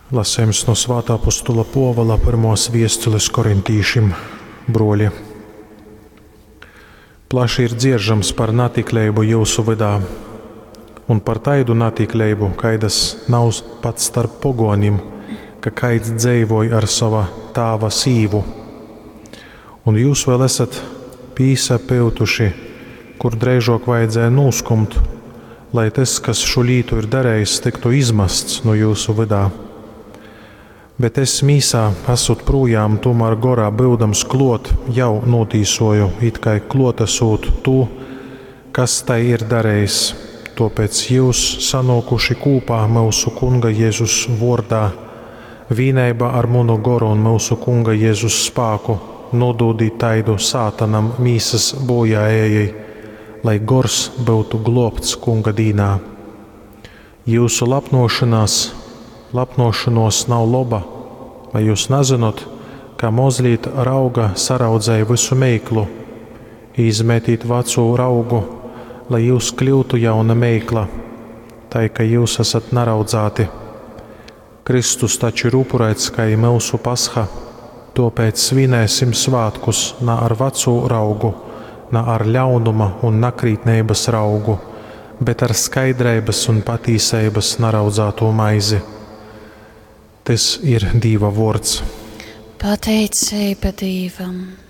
Lasejums nu Svātā Apostula Pōvula pyrmōs viestulis korintīšim. Bruoli, plaši ir dzieržams par natikleibu jyusu vydā un par taidu natikleibu, kaidas nav pat starp pogōnim, ka kaids dzeivoj ar sova tāva sīvu. Un jyus vēl esat pīsapyutuši, kur dreižōk vajadzēja nūskumt, lai tys, kas šu lītu ir darējis, tyktu izmasts nu jyusu vydā. Bet es mīsā, asūt prūjām, tūmār gorā byudams klōt, jau nūtīsoju, it kai klōtasūt tū, kas tai ir darējis. Tōpēc jyus, sanōkuši kūpā myusu Kunga Jezus vōrdā, vīneibā ar munu goru un myusu Kunga Jezus spāku, nūdūdīt taidu sātanam mīsas bojāejai, lai gors byutu glōbts Kunga dīnā. Jyusu lapnōšonās, lapnōšonōs nav loba, vai jyus nazynot, ka mozlīt rauga saraudzej vysu meiklu? Izmetīt vacū raugu, lai jyus kļyutu jauna meikla, tai ka jyus asat naraudzāti. Kristus taču ir upurēts kai myusu pasha, tōpēc svinēsim svātkus na ar vacū raugu, na ar ļaunuma un nakrītneibas raugu, bet ar skaidreibas un patīseibas naraudzātū maizi. Tys ir Dīva vōrds. Pateiceiba Dīvam.